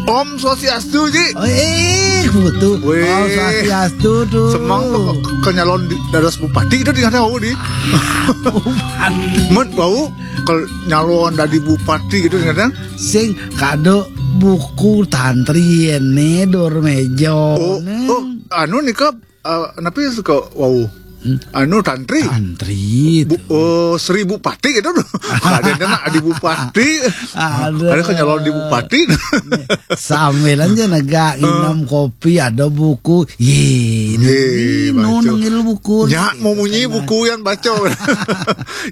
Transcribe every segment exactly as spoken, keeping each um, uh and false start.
Om Swastiastu, Ji. Oh, eh, betul. Weh. Om Swastiastu tuh. Semang tuh ke, ke nyalon di, dados bupati itu di, nggak tahu di. Met bau ke nyalon dari bupati gitu, kadang. Sing kado buku tantri ini, Dur Mejo. Oh, oh, anu nih, Kak. Eh, napi suka wau? Hmm. Anu tantri. Tantri. Bu, oh, Sri Bupati gitu loh. Ada nak di bupati. Ada. Ada kan nyalon di bupati. Sambil aja nega minum kopi, ada buku. Ye, ye, ini baca. Nengil buku. Ya, mau munyi buku yang baca.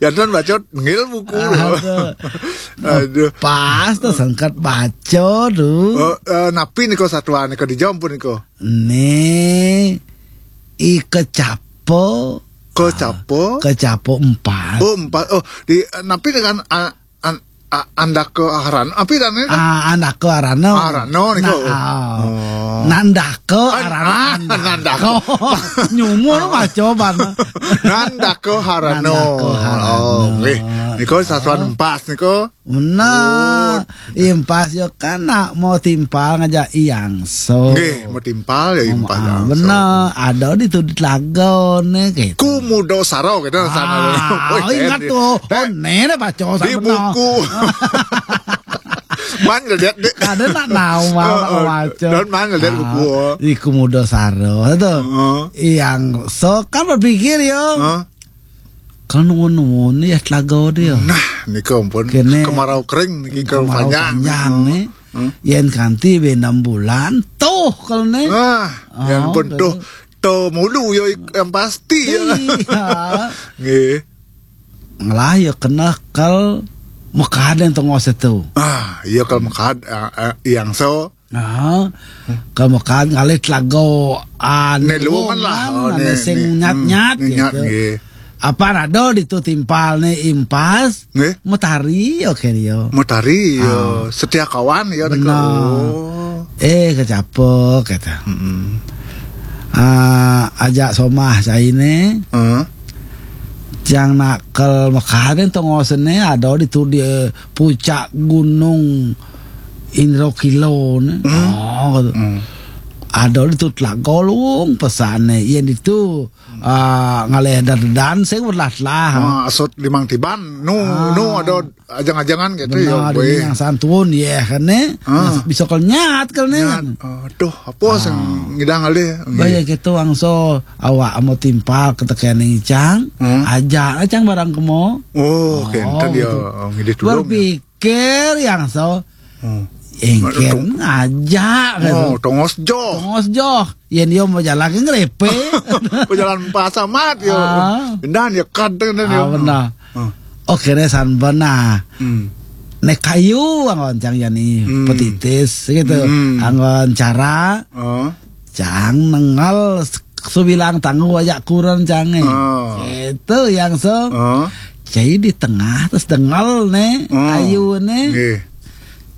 Ya, tuan baca, nengil buku. Aduh. Aduh. Pas tuh sengkat baca tuh. Oh, eh, napi nih kok satuan nih kok di Jampun nih kok. Nih, i kecapo. Kecapo? Kecapo empat. Oh, empat. Oh, di, eh, napi dengan, ah, an, ah, andake aran. Apa dan ini? Ah, andake arano. Arano nih kok. Oh. Nandake arano. Nandake. Nyumur mah coba. Nandake arano. Nandake arano. Oh, nggih. Nika satuan empas nika. Bener. Impas yo kan nak mau timpal ngajak Iyangso. Nggih, mau timpal ya impas Iyangso. Bener, ada di tuh di Telago nih gitu. Ku Mudo Saro gitu sana. Ah, oh, ingat tuh. Oh, nenek baca di buku. Man ngeliat deh. Ada nak tahu mau baca. Dan man ngeliat buku. Di Ku Mudo Saro itu. Iyangso kan berpikir yo. Kalau nunggu-nunggu nih ya Telago dia. Nah, nika ampun. Kene kemarau kering niki kemarau panjang nih. Yen kanti be enam bulan tuh kalau nih. Nah, yang pun tuh to mulu yo yang pasti ya. Iya. Nggih. Ngelah ya kena kal mekaden tengos itu. Ah, iya kal mekad Iyangso. Nah, kamu kan ngalih Telago anu. Nih, luwungan lah. Oh, nih, sing nyat-nyat gitu. Apa rado ditu timpal nih impas. Nggih. Metari, oke dia. Metari ya, setia kawan ya. Benar. Eh, kecapek kata. Ah, ajak somah caine. Heeh. Cang nak kel mekaden tongosene ada ditu di, eh, puncak gunung Indro Kilo ne. Oh, ada ditu Telago luwung pesane. Yen ditu, ah, ngalih dan sing berlah-lah. Ah, asut limang tiban. Nu, nu ada ajang-ajangan gitu ya. Benar, ini yang santun ya kan ne. Bisa kel nyat kel ne. Aduh, apa sing ngidang ngalih? Bahaya gitu angso awak amo timpal ketekening cang. Ajak cang barang kemo. Oh, kenten ya gitu. Ngidih tulung ya. Pikir yang so. Engken ngajak gitu. Oh, tongos joh. Tongos joh. Yen yo mau jalan ke ngrepe. Mau jalan pas amat yo. Pindahan ya kad dengan yo. Ah, benar. Oke, ne san benar. Nek kayu anggon cang yani petitis gitu. Anggon cara. Cang nengel subilang tangguh ajak kuren cange. Itu yang so. Jadi di tengah terus dengel ne kayu ne. Nggih.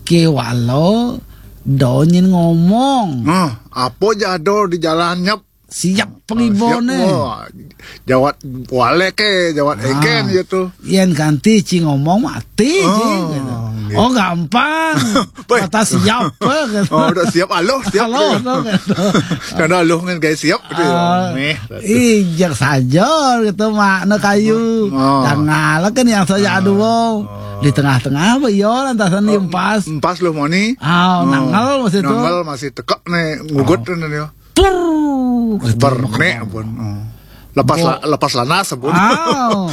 Kewalo donyin ngomong. Nah, apa jado di jalan nyep? Siap pengibone. Jawat walek ke, jawat egen gitu. Yen kanti ci ngomong mati ci gitu. Oh, gampang. Kata siap gitu. Oh, udah siap, aloh, siap. Aloh gitu. Karena aloh kan kayak siap gitu ya. Ijak saja gitu makna kayu. Tanggal kan yang saja aduh. Di tengah-tengah apa ya lantasan empas. Empas loh moni. Ah, nanggal masih tuh. Nanggal masih tekek nih ngugut tuh nih. Pur. Bernek pun. Lepas lepas lanas pun. Ah.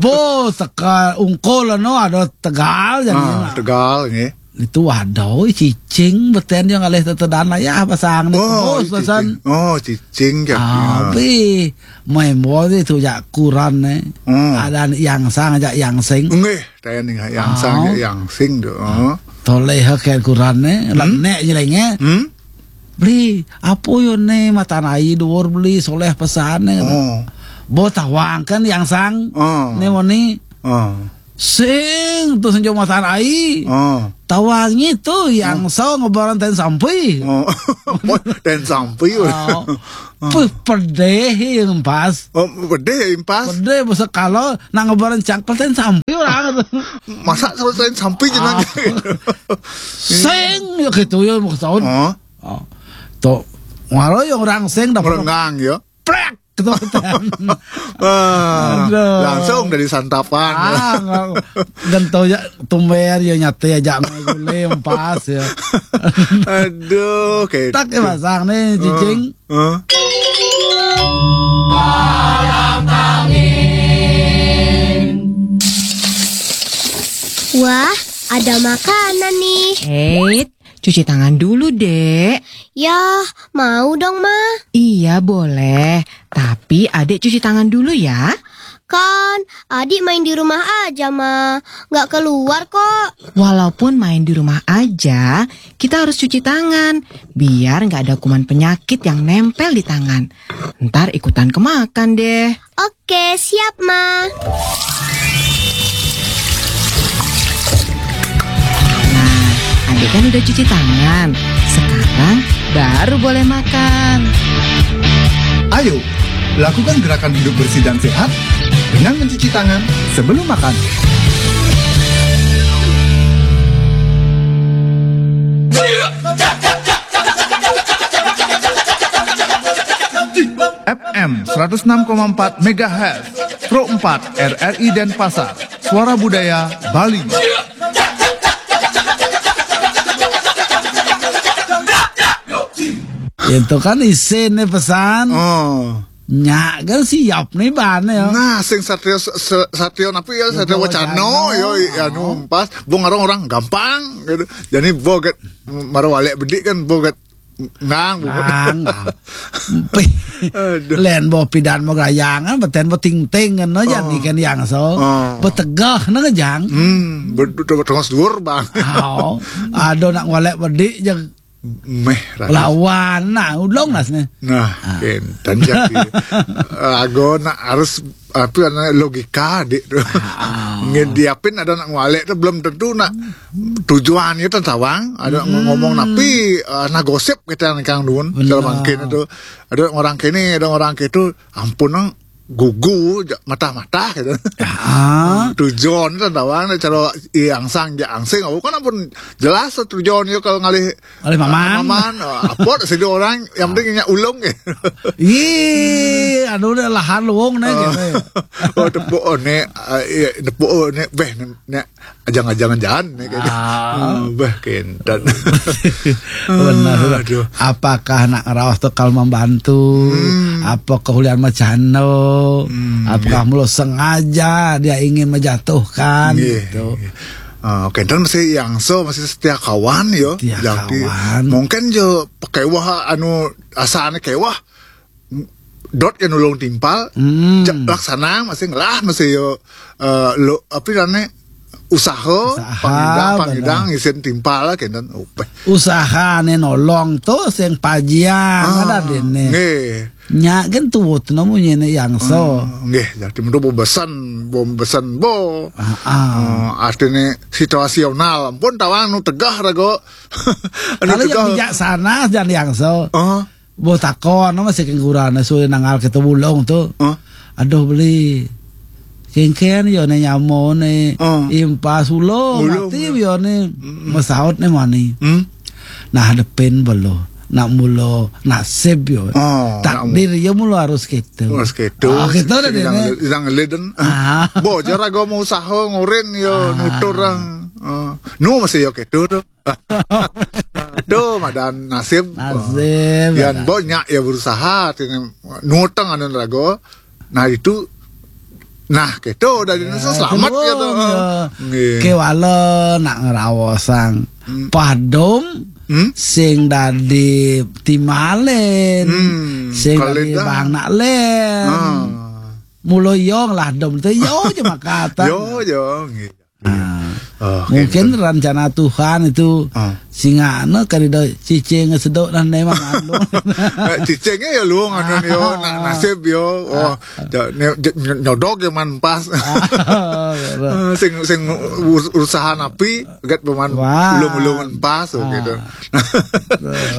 Bo teka ungkul no ada tegal jadi. Ah, tegal nggih. Itu waduh cicing beten yang alih tetedan lah ya pasang nih. Oh, bos pesan. Oh, cicing ya. Abi main bos itu jak kuran nih. Ada yang sang ajak yang sing. Nggih, tanya nih yang sang ajak yang sing tuh. Toleh ke kuran nih, nek nyelenge. Beli, apa yo ne matan ai dhuwur beli soleh pesane. Oh. Bo tawang kan yang sang. Oh. Ne moni. Oh. Sing tu senjo matan ai. Oh. Tawangi tu yang so ngebaran ten sampi. Oh. Ten sampi. Oh. Puh, pedih impas. Oh, pedih impas. Pedih besar kalau nak ngebaran cak ten sampi orang. Masa selalu ten sampi jenang. Ah. Sing ya gitu ya mau tahun. Oh. Oh. Tu ngaro yang orang sing dapat. Merengang ya. Plek. Keturutan. Wah, aduh. Langsung dari santapan. Ah, nggak, gento ya, tumber ya nyate aja gule empas ya. Aduh, kayak tak ya pasang nih, cicing. Huh? Wah, ada makanan nih. Eits, cuci tangan dulu, Dek. Ya, mau dong, Ma. Iya, boleh. Tapi Adek cuci tangan dulu ya. Kan, Adik main di rumah aja, Ma. Nggak keluar kok. Walaupun main di rumah aja, kita harus cuci tangan. Biar nggak ada kuman penyakit yang nempel di tangan. Ntar ikutan kemakan deh. Oke, siap, Ma. Nah, Adek kan udah cuci tangan. Sekarang baru boleh makan. Ayo, lakukan gerakan hidup bersih dan sehat dengan mencuci tangan sebelum makan. F M seratus enam koma empat megahertz, Pro empat R R I Denpasar, Suara Budaya Bali. Itu kan isin nih pesan. Oh. Nyak kan siap nih bahannya ya. Nah, sing satrio satrio napi ya, satrio wacano yo, anu pas bung orang gampang gitu. Jadi boget maro walek bedik kan boget ngang. Ngang. Len bo pidan mo gayangan beten bo ting ting kan no jan ikan yang so. Betegah no jang. Hmm, betul tengah dhuwur bang. Oh, ada nak walek bedik jeng Meh lawan nah ulung nas nih. Nah, ken dan jadi ago nak harus apa namanya logika dik tu. Ngen diapin ada nak ngwalek tu belum tentu nak tujuan itu tawang ada ngomong napi uh, nah gosip kita yang kang dun kalau mungkin itu ada orang kini ada orang itu ampun nang gugu matah-matah gitu. Tujuan itu tawang cara angsang ja angsing aku kan ampun jelas tujuan itu kalau ngalih Oleh paman. Paman, oh, apa sih orang yang penting nya ulung ya. Ih, aduh udah lahan luwung nih gitu. Oh tepuk oh nek, eh, iya, tepuk oh nek, beh nek ajang-ajangan jalan nek gitu. Ah. Oh, beh kentan. Benar. Aduh. Apakah nak ngerawas tuh kalau membantu? Apa kehulian macano? Apakah mulo sengaja dia ingin menjatuhkan Iya, gitu? Iya. Ah, kentan masih yang so masih setia kawan yo. Setia Jadi, kawan. Mungkin jo pakai wah anu asane kewah dot yang nulung timpal Hmm. ja- laksana masih ngelah masih yo eh, lo apa namanya usaha, Usaha, pangidang benar. Pangidang isin timpal lah kentan upeh. Usahane nolong tuh sing pajiang ada dene. Nggih. Nya kan tuwut no munyine yang so. Nggih, jadi mentu bo besan, bo besan bo. Ah, ah. Eh, artine situasional pun tawang nu tegah rago. Anu Kalau tegah. Yang bijaksana jan yang so. Oh, Bo takon no masih kengkurane suwe nangal kita bulung tuh. oh. Aduh beli. Kengken yo ne nyamo ne Oh. Impas ulo Ulo, mati ulo. Yo ne masaut ne mani. Hmm? Nah depan belo nak mulo nasib yo. Oh, Takdir yo mulo harus gitu. Terus gitu. Ah, gitu dah Yang dene. Yang leden. Ah. Bo jara go mau usaha ngoren yo nutur orang. Ah. Nu masih yo gitu tuh. Tuh madan nasib. Nasib, Yang madan. Banyak ya berusaha artinya nutang anu rago. Nah itu nah gitu dari Indonesia selamat Kedua, gitu. Ya. Nggih. Kewala nak ngerawosang padom Hmm? sing dadi timalen Hmm, sing kalau dadi dah. Bang Nak Len. Ah. Mulo yo ngladom tu yo cuma kata. Yo yo nggih. Ah. Oh, mungkin gitu. Rencana Tuhan itu. Ah. Sing anu kari do cicing sedok dan nemang anu. Eh, cicingnya ya luung anu yo, na-, nasib yo. Oh, ja-, ne-, ja-, ny-, nyodok ya man pas. Ah, iya. Eh, sing, sing us-, usaha napi, get peman. Wah. Ulung-ulung pas, oh, ah, gitu.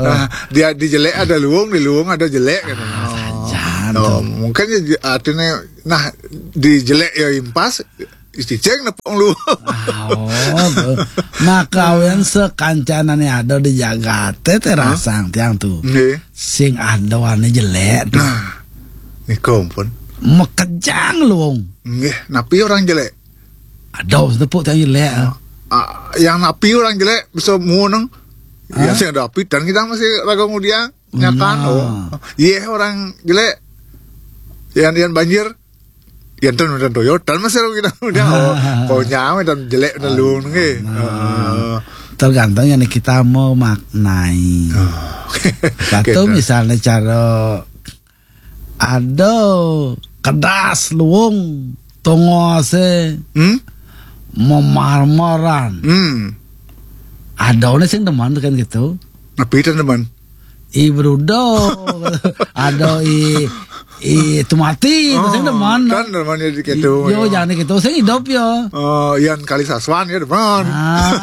Nah, dia di jelek ada luung, di luung ada jelek gitu. Ah, oh. Sajan. Oh, tuh. Mungkin ya, artinya, nah, di jelek ya impas, cicing nepung lu. Oh, tuh. Maka awen sekancanane ada di jagate te. Hah? Rasang tiang tuh. Nggih. Sing ada warna jelek tuh. Nah, niku pun. Mekejang luung. Nggih, napi orang jelek? Ada tepuk tiang jelek. Ah, yang napi orang jelek bisa muneng. Ya, hah? Sing ada api dan kita masih raga ngudiang. Nyakan, nah. Oh. Iya, orang jelek. Yang, yang banjir. Yang ten udah toyo, dan masih kita udah. Oh, kau nyampe dan jelek dan luung nggih. Nah. Heeh. Tergantung yang kita mau maknai. Oh. Satu gitu. Misalnya cara ada kedas luung tongose. Hmm? Memarmaran. Hmm. Ada orang sing demen kan gitu. Napi ten demen? I Brudo. Ada i, i Tumati, oh, sing demen. Kan demen ya di ketu, yo, ya. Jangan ketu, sing hidup ya. Oh, yang kali saswan ya demen. Ah.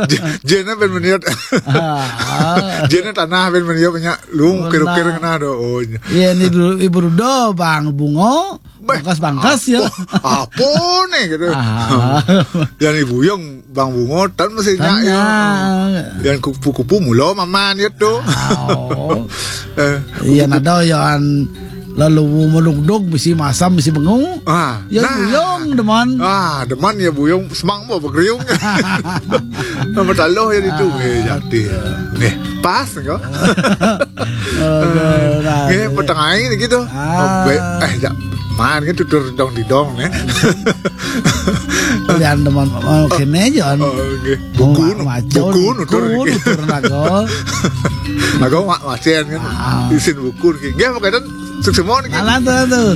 J-, jena ben meniat. Ah. Jena tanah ben meniat punya lu ukir-ukir kena do. Oh, iya. Iya, ini dulu, I Brudo, Bang Bungo. Beh, bangkas-bangkas ya. Apa, apa nih gitu. Ah. Yang Ibu Yung Bang Bungo, tan masih nyak ya. Yang kupu-kupu mula maman ya tuh. Oh. Eh, iya, kupu-kupu. Nada yang lalu melugdug, mesti masam, mesti bengu. Ah, ya, nah. Buyung, deman. Ah, deman ya buyung, semang mau bergeriung. Nama taluh ya itu. Ah. Eh, jadi. Nih, pas kok. Aduh, nah, nggih, petengah ini gitu. Ah. Oh, be-, eh, ya, man gitu, tutur dong di dong, ya. Kalian teman, oh, kene aja, kan. Oh, nggih. Buku, buku nutur, buku nutur nago. Nago mak macen kan. Ah. Isin buku niki. Nggih, makanya sukses mawon niki. Alah, tuh, tuh.